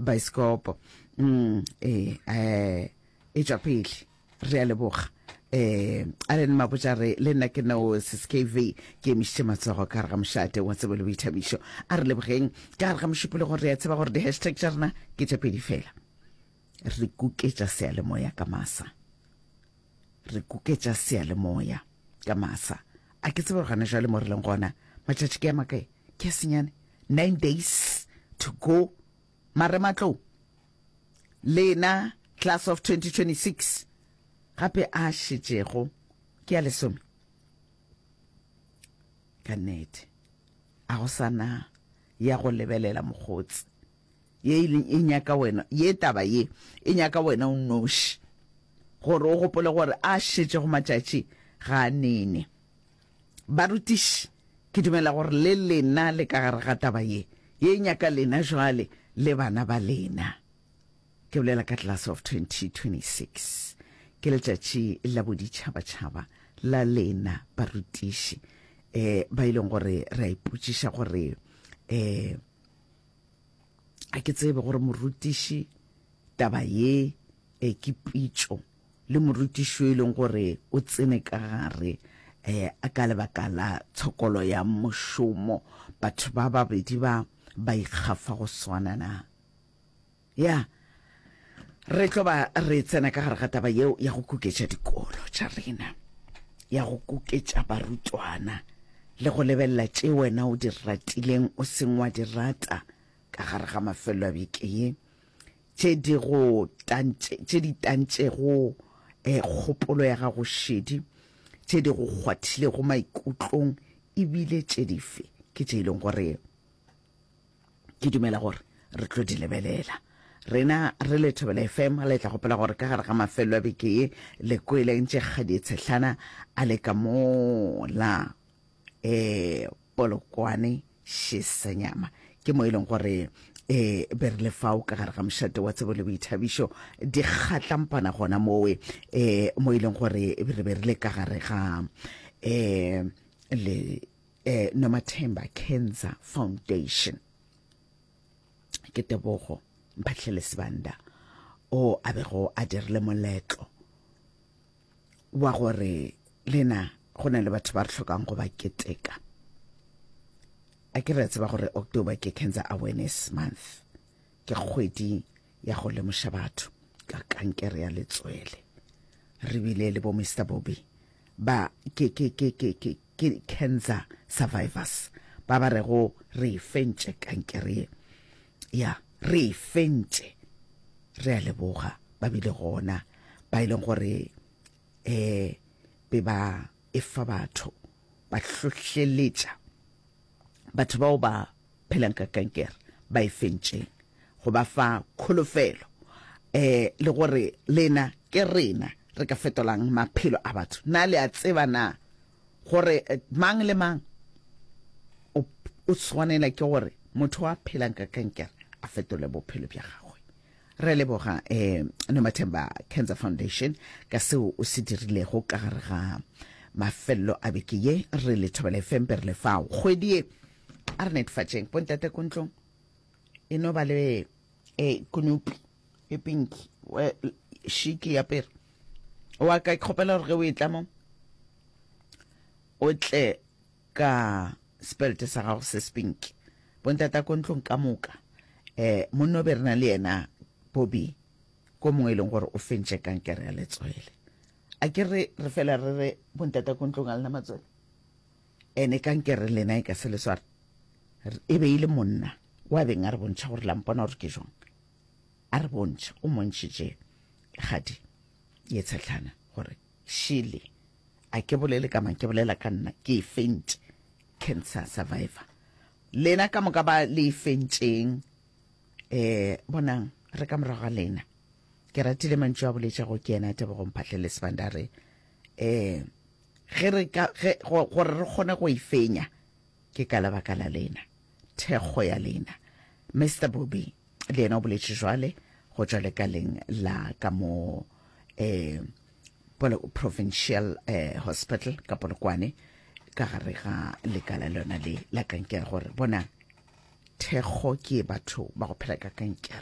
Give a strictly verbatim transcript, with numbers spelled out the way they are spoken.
Baeskopo. Mm, ee, eh, e tšwa pele. Re a leboga. Eh, Allen Mabotja re, le nna ke no Sis K V, ke emišitše matsogo ka gare ga mošate wa tsebo le boithabišo. A re lebogeng ka gare ga mošupologo. Re a tseba gore di-hashtag tša rena ke tše pedi fela. Re kuketša seyalemoya ka masa. Re kuketša seyalemoya ka masa. A ke tsebe gore gana jwale mo re leng gona, matšatši ke a makae? Ke a senyane. Nine days to go. Marematlou, lena class of twenty twenty-six, gape a šetšego ke a lesome. Ka nnete, a go sana ya go lebelela mokgotsi. Ye e nyaka wena, ye taba ye e nyaka wena o nnoši gore o gopole gore a šetšego matšatši ga a nene. Barutiši, ke dumela gore le lena le ka gare ga taba ye. Ye e nyaka lena jwale le bana ba lena. Ke bolela ka class of twenty twenty-six. Ke letšatši la boditšhabatšhaba la lena barutiši, eh ba e leng gore re a ipotšiša gore eh a ke tsebe gore morutiši taba ye e ke pitšo le morutiši e leng gore o tsene ka gare eh ka lebaka la tshokolo ya mošomo. Batho ba babedi ba ba ikgafa go swana na? Ya, re tlo ba re tsena ka gare ga taba yeo ya go kuketša dikolo tša rena, ya go kuketša barutwana le go lebelela tše wena o di ratileng, o seng wa di rata ka gare ga mafelo a beke ye, tše di go tantše, tše di tantšego eh, kgopolo ya gago šedi, tše di go kgwathilego maikutlong, ebile tše dife ke tše e leng gore ke dumela gore re tlo di lebelela rena re le Thobela F M. Le tla gopola gore ka gare ga mafelo a beke ye le kwele ntše kgadi tshehlana a le ka mola eh Polokwane Šesenyama, ke mo e leng gore eh be re le fao ka gare ga mošate wa tsebo le boithabišo di kgatlampana gona mowe, eh mo e leng gore re be re le ka gare ga eh le eh Nomathemba Cancer Foundation. Ke Tebogo Mphatlhele Sebanda o a bego a dirile moletlo wa gore lena go na le batho ba re hlokang go ba keteka. A ke re tseba gore October ke Cancer Awareness Month, ke kgwedi ya go lemoša batho ka kankere ya letswele. Re bile le bo Mister Bobby ba ke ke ke ke ke ke cancer survivors ba ba rego re e fentše kankere ye. Ya, re e fentše, re a leboga. Ba bile gona ba e leng gore eh be ba e fa batho, ba hlohleletša batho bao ba phelang ka kankere ba e fentšeng, go ba fa kholofelo eh le gore lena ke rena re ka fetolang maphelo a batho. Na le a tseba na gore eh, mang le mang o o tshwanela ke gore motho a phelang ka kankere a fetole bophelo bja gagwe? Re leboga eh Nomathemba Cancer Foundation ka seo o se dirilego ka gare ga mafelelo a beke ye. Re le Thobela F M be re le fao kgwedi ye. A re netefatšeng bontate ko ntlong e no ba le e konopi e pinki šiki ya pere wa ka. Ke kgopela gore ge o e tla mo o tle ka sepelte sa gago se sepinki. Bontata ko ntlong ka moka, eh monna o be re na le yena Bobby ko mongwe e leng gore o fentše kankere ya letswele. A ke re re fela re re bontata ko ntlong a lena matswele ene kankere lena e ka se le sware. E be e le monna wa beng a re bontšha gore la mpona gore ke jwang. A re bontšha, o montšhitše kgadi ye tshetlana gore šele a ke bolele ka mang, ke bolela ka nna, ke e fentše, cancer survivor. Lena ka moka ba le e fentšeng, eh bonang re ka morago ga lena. Ke ratile mantšu a boletšego ke yena Tebogo Mphahlele Sebanda re eh ge re ka ge gore re kgone go e fenya ke ka lebaka la lena, thekgo ya lena. Mister Bobby le yena o boletše jwale go tšwa lekaleng la ka mo eh Provincial eh, Hospital ka Polokwane, ka gare ga lekala lona le la kankere, gore bona thekgo ke batho ba go phela ka kankere.